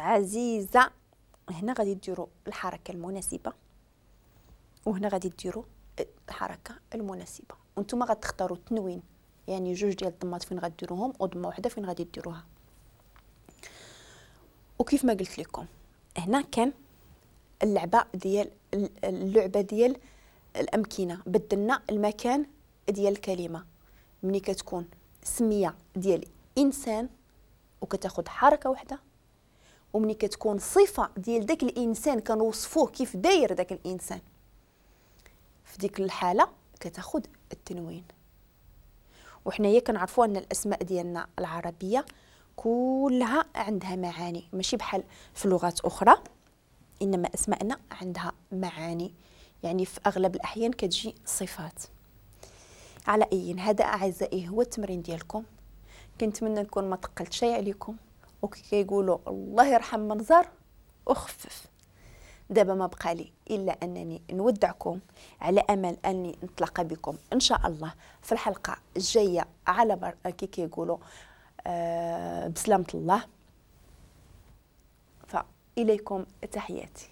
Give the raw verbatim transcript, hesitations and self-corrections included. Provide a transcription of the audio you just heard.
عزيزة. هنا غادي ديروا الحركة المناسبة وهنا غادي ديروا الحركة المناسبة، وانتم غتختاروا التنوين، يعني جوج ديال الضمات فين غديروهم وضمه واحدة فين غادي ديروها. وكيف ما قلت لكم هنا كان اللعبة ديال اللعبة ديال الامكنة، بدلنا المكان ديال الكلمة. ملي كتكون سميه ديال انسان وكتاخذ حركة واحدة، وملي كتكون صفة ديال داك الانسان كنوصفوه كيف داير داك الانسان، في ديك الحالة كتاخذ التنوين. وحنايا كنعرفوا ان الاسماء ديالنا العربية كلها عندها معاني، ماشي بحال في لغات اخرى، انما اسماءنا عندها معاني، يعني في اغلب الاحيان كتجي صفات. على اي هذا اعزائي هو التمرين ديالكم، كنتمنى نكون ما ثقلت شيء عليكم، وكي كيقولوا الله يرحم من زار وخفف. دابا ما بقى لي الا انني نودعكم على امل اني نتلاقى بكم ان شاء الله في الحلقة الجاية على بر... كي كيقولوا آه بسلامه الله. فاليكم تحياتي.